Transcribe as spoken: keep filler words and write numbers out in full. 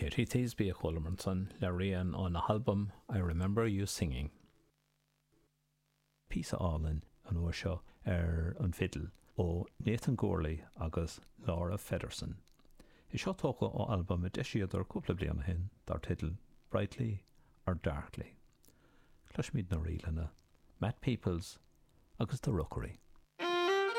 Katie Thiesby a chualamar ansan le rian óna halbam I Remember You Singing. Píosa álainn an uair seo ar an bhfidil ó Nathan Gourley agus Laura Feddersen. É seo tógtha ó albam a d'eisíodar cúpla bliain ó shin dar teideal Brightly or Darkly. Cloisimid na ríleanna, Matt Peoples agus The Rookery.